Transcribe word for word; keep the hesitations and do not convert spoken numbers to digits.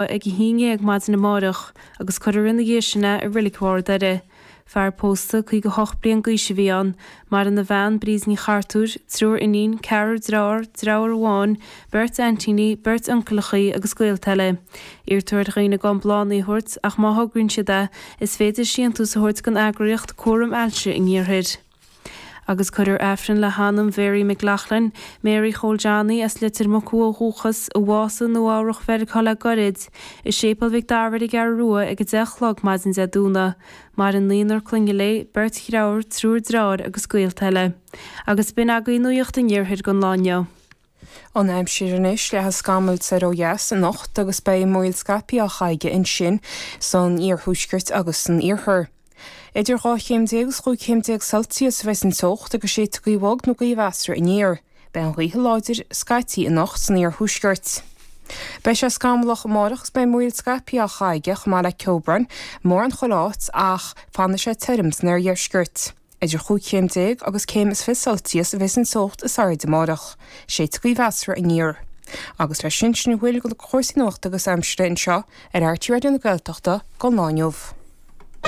ag a haon dhéag maidin amárach agus cuirfear ina dhiaidh sin é i Reilig Bharr Doire. Fear pósta caoga a hocht bliain d'aois a bhí ann. Maireann a bhean, Bríd Ní Chartúir, triúr iníon, ceathrar dearthár, deartháir amháin, beirt aintíní, beirt uncaileachaí agus gaolta eile. Iarrtar ar dhaoine gan bláthanna a thabhairt ach má thograíonn siad é, is féidir síntiús a thabhairt don eagraíocht Cúram Ailse an Iarthair. Agus cuirfear Aifreann le hanam Mhary McLaughlin, Mary Chóil Johnny as Leitir Mucú ó dhúchas, a bhásaigh i Nua-Eabhrac Mheiriceá le gairid, i Séipéal Mhic Dara ar an gCeathrú Rua ag a deich a chlog maidin Dé Domhnaigh. Maireann naonúr clainne léi, beirt dhearthár, triúr deartháir agus gaolta eile. Agus b'in agaibh nuacht an iarthair don lá inniu. An aimsir anois, leathfaidh scamaill soir ó dheas anocht agus beidh múraíl scaipthe á chaitheamh ansin san iarthuaisceart agus san iarthar. Idir dhá chéim déag agus chúig chéim déag Celsius a bheidh an teocht agus séidfidh gaoth bhog nó gaoth mheasartha aniar. Beidh an ghaoth láidir scaití anocht san iarthuaisceart. Beidh sé scamallach amárach agus beidh múraíl scaipthe á chaitheamh chomh maith le ceobhrán mórán chuile áit ach fanfaidh sé tirim san oirdheisceart. Idir chúig chéim déag agus céim is fiche Celsius a bheidh an teocht is airde amárach. Séidfidh gaoth mheasartha aniar. Agus leis sin, sin a bhfuil de chúrsaí nuachta agus aimsire anseo ar RTÉ Raidió na Gaeltachta don lá inniu.